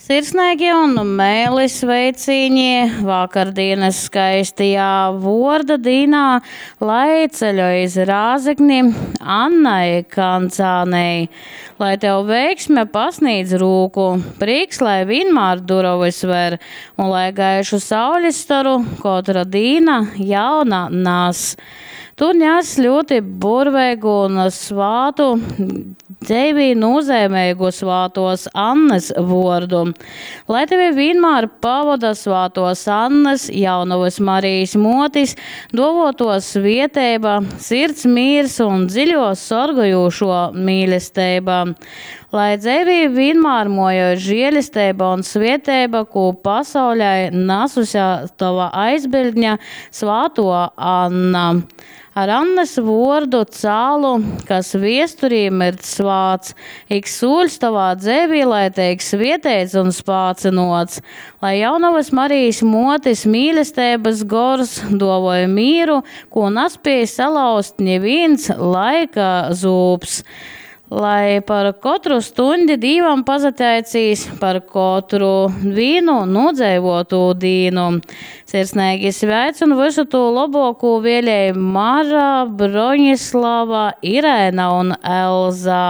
Sirsneigi un meili sveicīņi vakardīnas skaistajā vuorda dīnā, lai ceļoj iz Rāzekni Annai Kancānei. Lai tev veiksme pasnīdz rūku, prīks lai vīnmār durovys ver un lai gaišu saulis storu kotra dīna jauna nas. Tu nes ļūti burveigu un svātu, dzeivī nūzeimeigu svātuos Annys vuordu. Lai tevi vīnmār pavoda svātuos Annys, Jaunovys Marijis muotis, duovuotuo svieteiba, sirds mīrs un dziļuo sorgojūšuo mīlesteiba. Lai dzeivī vīnmār muojoj žielesteiba un svieteiba, kū pasaulei nasuse tova aizbiļdne, svātuo Anna. Ar Annys vuordu cālu, kas viesturī mirdz svāts, ik sūļs tovā dzeivī lai teik svieteits un spācynuots. Lai Jaunovys Marijis muotis mīlesteibys gors duovoj mīru, kū naspiej salauzt nivīns laika zūbs. Lai par kotru stuņdi Dīvam pasateicīs, par kotru vīnu nūdzeivuotū dīnu. Sirsneigi sveic un vysu tū lobuokū vielej Mara, Broņislava, Irēna un Elza.